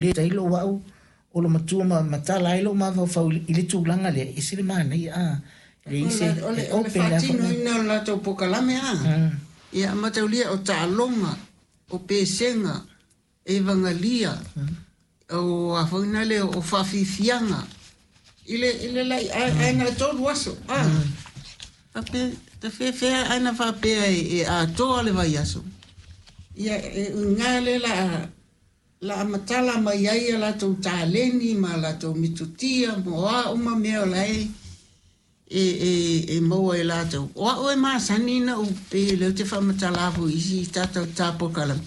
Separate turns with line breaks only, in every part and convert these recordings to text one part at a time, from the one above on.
Le tailo o au o lo matua ma matala ai lou mafaufau i le tulaga lea, e ese le manaia a. E leai se
O le
e open le afa
faatinoina o le latou polokalame a. Ia mataulia o taaloga, o pesega, evagalia, o a foi na lea o faafiafiaga i le lai ae na 3 aso a. Faapea ta feafea ae na faapea e atoa le vaiaso. Ia e uiga lea la matala mai ai a latou taleni ma latou metotia ma o a uma mea o la e maua e latou. O au e masani na ou pe lea ou te faamatala foi i isi tatou polokalame.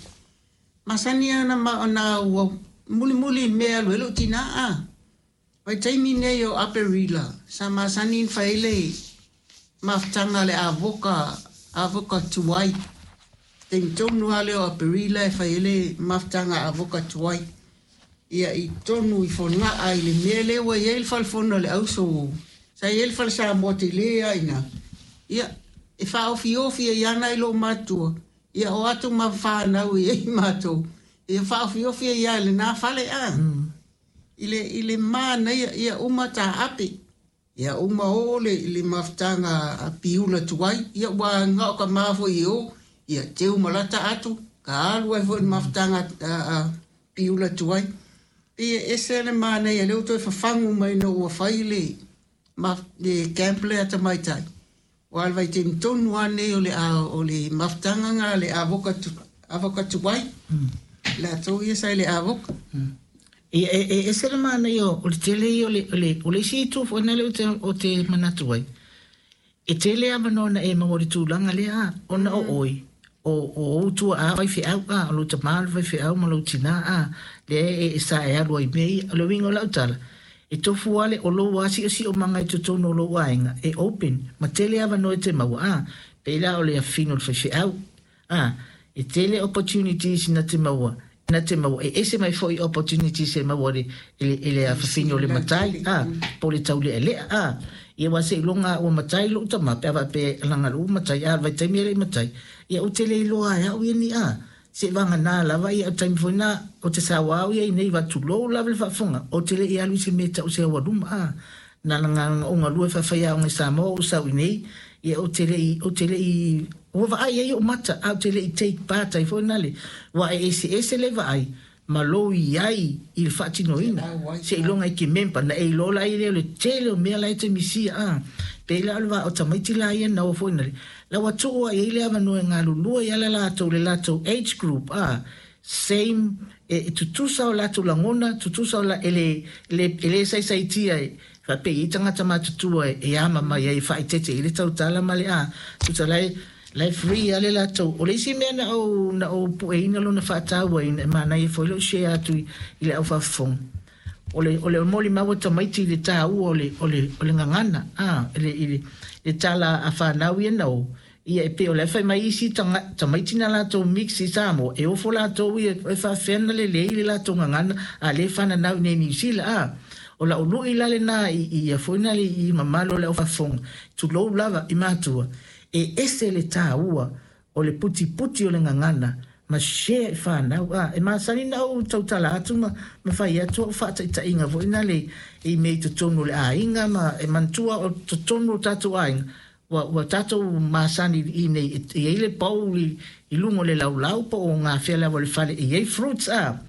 Masani ana ma ona ua mulimuli i le mea e alu ai lou tinā a. Vaitaimi nei o Aperila, sa masani ona fai ai le mafutaga a le avoka, avoka tuai. Taimi tonu lava lea o Aperila e fai ai le mafutaga avoka tuai. Ia i totonu i Fogaa i le mea lea ua i ai le falefono a le auso. Sa i ai le fale Samoa tele lava i ina. Ia, e faaofiofi ai lava nai loomatutua. Ia o atu ma fanau e i ai matou. Ia faaofiofi ai lava i lena fale a. I le manaia, ia uma taape. Ia uma o le mafutaga a piula tuai. Ia ua gao ka ma foi i o. Ia teu malata atu. Ka alu ai foi le mafutaga a piula tuai. Pe e ese le manaia lea ua toe fafagu mai ina ua fai le camp lea a tamaitai. Aua o le vaitaimi tonu lava nei o le mafutaga lena le avoka tuai. Latou ia sa i le avoka.
Ia, e ese le manaia o le tele ia o le isi itu foi lea ou te manatu ai. E tele avanoa na e maua i le tulaga lea a, ona o oe, o ou tuaa faifeau a, o lou tama o le faifeau ma lou tinā a, lea e sa e alu ai i mea ia. O le uiga o lau tala, e tofu lava le o lou siosiomaga i totonu o lou aiga e open ma tele avanoa e te maua a. Pei la o le afino o le faifeau a, e tele opportunities na te maua e ese mai foi opportunities e maua i le afafine o le matai a, po o le taulealea a. Ia ua seiloga ua matai lou tama pe a faapea laga lou matai a, o le vaitaimi e le i matai, ia ou te le iloa ai au ia ni a. Se vagana lava ia o taimi foi na o te saoa au ia i nei tulou lava le faafofoga ou te le i alu i se mea e tau se aualuma a. Na laga ou galue faafaiaoga i Samoa ou sau i nei, ia ou te le i ua vaai ai ou mata a ou te le i take part ai foi na le ua e eseese le vaai ma lou i ai i le faatinoina seiloga e ke member na e iloa la i lea o le tele o mea la e te misia a. Pei la o le vaa o tamaiti la ia na o foi na le la ua tuu ai le avanoa e galulue i ala latou le latou age group a same e tutusa o latou lagona tutusa o la e le saisaitia e faapei i tagata matutua e ama mai ai e faaeteete i le tautala ma le a tusa la e free ale latou. O le isi mea na ou pueina lona faatauaina e manaia foi lou share atu i le au faafofoga o le molimau a tamaiti i le taua o le gagana a i le tala a fanau ia na o ia e pei o le fai mai isi tamaiti na latou mix i Samoa e ofo latou ia e faafefea na lelei le latou gagana a le fananau i nei Niu Sila a. O lau lui la lena i ia foi na le i mamalu o le au faafofoga, tulou lava i matua, e ese le taua o le putiputi o le gagana ma share i fanau a. E masani na ou tautala atu ma fai atu au faataitaiga foi na le i mea i totonu o le aiga ma e manatua o totonu o tatou aiga ua tatou masani i nei e i ai le bowl i luga o le laulau po o gafea lava o le fale e i ai fruits a.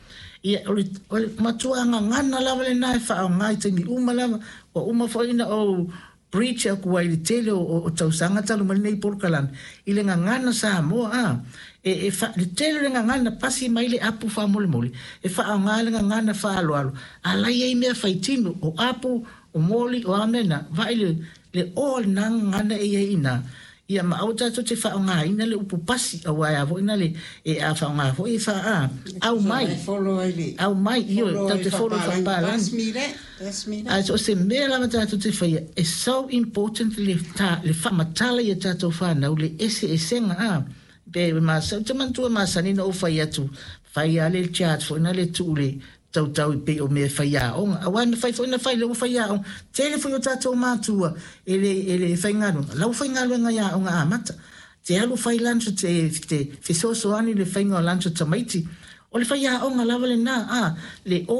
Ia o le matua gagana lava lena e faaaoga i taimi uma lava ua uma foi na ou preach aku ai i le tele o tausaga talu mai lenei polokalame i le gagana Samoa a. Le tele o le gagana pasi mai le apu faamolemole e faaaoga le gagana faaaloalo a la i ai mea faitino o apu o moli o a mea na vaai le o lena gagana e i ai ina ia ma aua tatou te faaaogaina le upu pasi aua e a foi na le e a faaaoga foi e faa au mai
E follow ai le
au mai io
follow
tatou te follow faapalagi.
That's me that. That's me that.
A so se mea lava tatou te faia e so important le faamatala ia tatou fanau le eseesega a pe masa te manatua masani na ou fai atu fai a le chat foi na le tuu le tautau i pei o mea faiaoga aua na fai foi na fai le ua faiaoga tele foi o tatou matua e le faigaluega la ua faigaluega i aoga amata te alu fai lunch te fesoasoani le faiga o lunch o tamaiti o le faiaoga lava lena a le o.